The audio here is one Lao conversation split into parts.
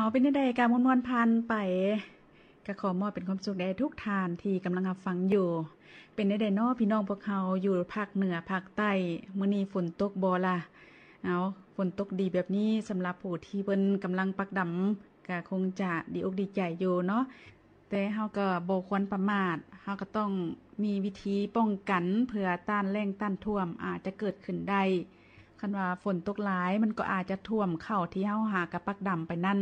ເອົາ ເປັນແນວໃດກະມ່ວນໆຜ່ານໄປ ກະຂໍມອບເປັນຄວາມສຸກແດ່ທຸກທ່ານທີ່ກຳລັງຮັບຟັງຢູ່. ເປັນແນວໃດເນາະ ພີ່ນ້ອງພວກເຮົາຢູ່ພາກເໜືອພາກໃຕ້? ມື້ນີ້ຝົນຕົກບໍ່ລະ? ເອົາ ຝົນຕົກດີແບບນີ້ ສຳລັບຜູ້ທີ່ເພິ່ນກຳລັງປັກດຳ ກະຄົງຈະດີອົກດີໃຈຢູ່ເນາະ. ແຕ່ເຮົາກໍບໍ່ຄວນປະໝາດ, ເຮົາກໍຕ້ອງມີວິທີປ້ອງກັນ ເພື່ອຕ້ານແລ້ງຕ້ານຖ້ວມອາດຈະເກີດຂຶ້ນໄດ້. ຄັນວ່າຝົນຕົກຫຼາຍ ມັນກໍອາດຈະຖ້ວມເຂົ້າທີ່ເຮົາຫາກະປັກດຳໄປນັ້ນ.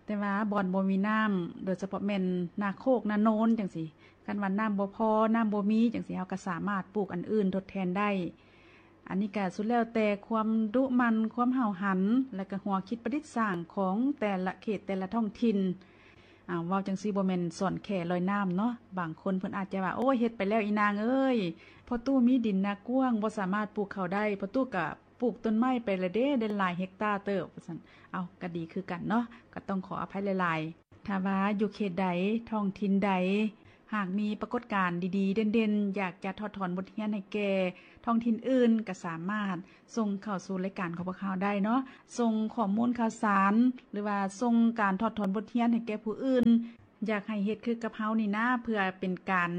ແຕ່ວ່າບ່ອນບໍ່ມີນ້ຳ ໂດຍສະເພາະແມ່ນນາໂຄກນາໂນນຈັ່ງຊີ້, ຄັນວ່ານ້ຳບໍ່ພໍ ນ້ຳບໍ່ມີຈັ່ງຊີ້ ເຮົາກໍສາມາດປູກອັນອື່ນທົດແທນໄດ້. ອັນນີ້ກະສຸດແລ້ວແຕ່ຄວາມດຸໝັ່ນ ຄວາມຫ້າວຫັນ ແລະກະຫົວຄິດປະດິດສ້າງຂອງແຕ່ລະເຂດ ແຕ່ລະທ້ອງຖິ່ນ. ອາ ເວົ້າຈັ່ງຊີ້ບໍ່ແມ່ນສອນແຄ່ລອຍນ້ຳເນາະ, ບາງຄົນເພິ່ນອາດຈະວ່າ ໂອ້ຍ ເຮັດໄປແລ້ວອີນາງເອີຍ, ພໍ່ຕູ້ມີດິນນາກວ້າງ ບໍ່ສາມາດປູກເຂົ້າໄດ້, ພໍ່ຕູ້ກະປູກຕົ້ນໄມ້ໄປລະເດ້ ໄດ້ຫຼາຍເຮັກຕາເຕີບ ວ່າຊັ້ນ. ເອົາ ກະດີຄືກັນເນາະ, ກະຕ້ອງຂໍອະໄພຫຼາຍໆ. ຖ້າວ່າຢູ່ເຂດໃດ ທ້ອງຖິ່ນໃດ ຫາກມີປາກົດການດີໆ ເດັ່ນໆ ຢາກຈະຖອດຖອນບົດຮຽນໃຫ້ແກ່ທ້ອງຖິ່ນອື່ນ ກະສາມາດສົ່ງເຂົ້າສູ່ລາຍການຂອງພວກເຮົາໄດ້ເນາະ, ສົ່ງຂໍ້ມູນຂ່າວສານ ຫຼືວ່າສົ່ງການຖອດຖອນບົດຮຽນໃຫ້ແກ່ຜູ້ອື່ນ. ຢາກໃຫ້ເຮັດຄືກັບເຮົານີ້ນາ ເພື່ອເປັນການ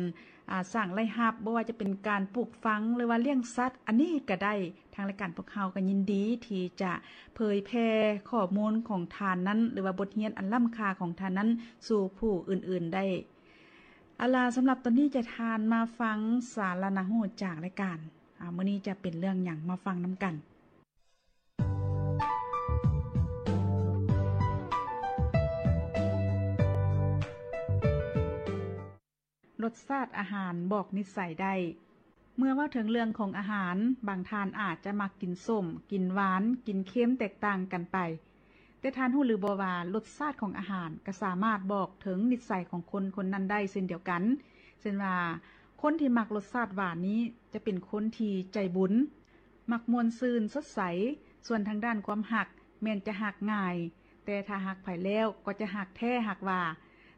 ອາ ສ້າງລາຍຮັບ, ບໍ່ວ່າຈະເປັນການປູກຝັງ ຫຼືວ່າລ້ຽງສັດ ອັນນີ້ກະໄດ້. ທາງລາຍການພວກເຮົາກໍຍິນດີທີ່ຈະເຜີຍແຜ່ຂໍ້ມູນຂອງທ່ານນັ້ນ ຫຼືວ່າບົດຮຽນອັນລ້ຳຄ່າຂອງທ່ານນັ້ນສູ່ຜູ້ອື່ນໆໄດ້. ເອົາລະ ສຳລັບຕອນນີ້ຈະທ່ານມາຟັງສາລະໜ້າຮູ້ຈາກລາຍການ. ອາ ມື້ນີ້ຈະເປັນເລື່ອງຫຍັງ ມາຟັງນຳກັນ. ລົດຊາດອາຫານບອກນິດໄສໄດ້. ເມື່ອເວົ້າເຖິງເລື່ອງຂອງອາຫານ, ບາງທ່ານອາດຈະມັກກິນສົ້ມ, ກິນຫວານ, ກິນເຄັມແຕກຕ່າງກັນໄປ. ແຕ່ທ່ານຮູ້ຫຼືບໍ່ວ່າ ລົດຊາດຂອງອາຫານກໍສາມາດບອກເຖິງນິດໄສຂອງຄົນຄົນນັ້ນໄດ້ເຊັ່ນດຽວກັນ? ເຊັ່ນວ່າ ຄົນທີ່ມັກລົດຊາດຫວານນີ້ຈະເປັນຄົນທີ່ໃຈບຸນ, ມັກມ່ວນຊື່ນສົດໃສ, ສ່ວນທາງດ້ານຄວາມຮັກແມ່ນຈະຮັກງ່າຍ, ແຕ່ຖ້າຮັກໃຜແລ້ວກໍຈະຮັກແທ້ຮັກວ່າ.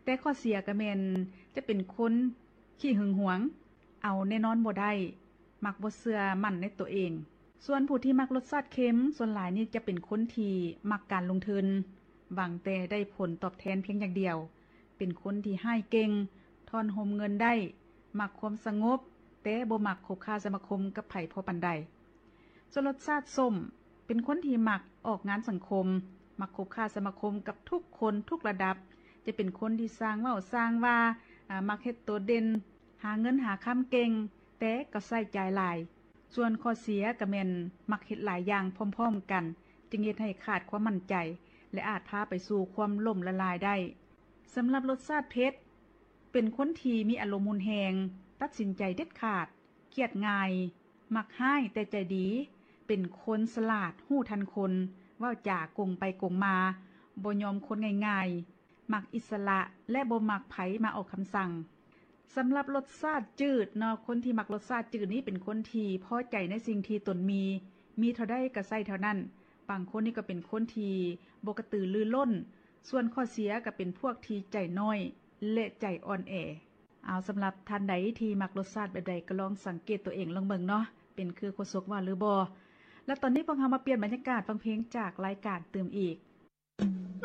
ແຕ່ຂໍ້ເສຍກໍແມ່ນຈະເປັນຄົນຂີ້ຫຶງຫວງ, ເອົາແນ່ນອນບໍ່ໄດ້, ມັກບໍ່ເຊື່ອໝັ້ນໃນຕົວເອງ. ສ່ວນຜູ້ທີ່ມັກລົດຊາດເຄັມ ສ່ວນຫຼາຍນີ້ຈະເປັນຄົນທີ່ມັກການລົງທຶນ, ຫວັງແຕ່ໄດ້ຜົນຕອບແທນພຽງຢ່າງດຽວ, ເປັນຄົນທີ່ຮ້າຍເກັ່ງ, ທ້ອນໂຮມເງິນໄດ້, ມັກຄວາມສະຫງົບ, ແຕ່ບໍ່ມັກຄົບຄ້າສະມາຄົມກັບໃຜພໍປານໃດ. ສ່ວນລົດຊາດສົ້ມ ເປັນຄົນທີ່ມັກອອກງານສັງຄົມ, ມັກຄົບຄ້າສະມາຄົມກັບທຸກຄົນທຸກລະດັບ, ຈະເປັນຄົນທີ່ຊ່າງເວົ້າຊ່າງວ່າ, ອາ, ມັກເຮັດໂຕເດັ່ນ, ຫາເງິນຫາຄຳເກັ່ງ, ແຕ່ກໍໃຊ້ຈ່າຍຫຼາຍ. ສ່ວນຂໍ້ເສຍກໍແມ່ນມັກເຮັດຫຼາຍຢ່າງພ້ອມໆກັນ, ຈຶ່ງເຮັດໃຫ້ຂາດຄວາມໝັ້ນໃຈ ແລະ ອາດພາໄປສູ່ຄວາມລົ້ມລະລາຍໄດ້. ສຳລັບລົດຊາດເຜັດ ເປັນຄົນທີ່ມີອາລົມຮຸນແຮງ, ຕັດສິນໃຈເດັດຂາດ, ຄຽດງ່າຍ, ມັກຮ້າຍແຕ່ໃຈດີ, ເປັນຄົນສະຫຼາດ, ຮູ້ທັນຄົນ, ເວົ້າຈາກົງໄປກົງມາ, ບໍ່ຍອມຄົນງ່າຍໆ, ມັກອິດສະຫຼະ ແລະ ບໍ່ມັກໃຜມາອອກຄຳສັ່ງ. ສຳລັບລົດຊາດຈືດເນາະ, ຄົນທີ່ມັກລົດຊາດຈືດນີ້ເປັນຄົນທີ່ພໍໃຈໃນສິ່ງທີ່ຕົນມີ, ມີເທົ່າໃດກໍໃຊ້ເທົ່ານັ້ນ. ບາງຄົນນີ້ກໍເປັນຄົນທີ່ບໍ່ກະຕືລືລົ້ນ, ສ່ວນຂໍ້ເສຍກໍເປັນພວກທີ່ໃຈນ້ອຍ ແລະ ໃຈອ່ອນແອ. ເອົາ, ສຳລັບທ່ານໃດທີ່ມັກລົດຊາດແບບໃດ ກໍລອງສັງເກດຕົວເອງລອງເບິ່ງເນາະ, ເປັນຄືໂຄສົກວ່າຫຼືບໍ່? ແລະ ຕອນນີ້ພວກເຮົາມາປ່ຽນບັນຍາກາດຟັງເພງຈາກລາຍການຕື່ມອີກ.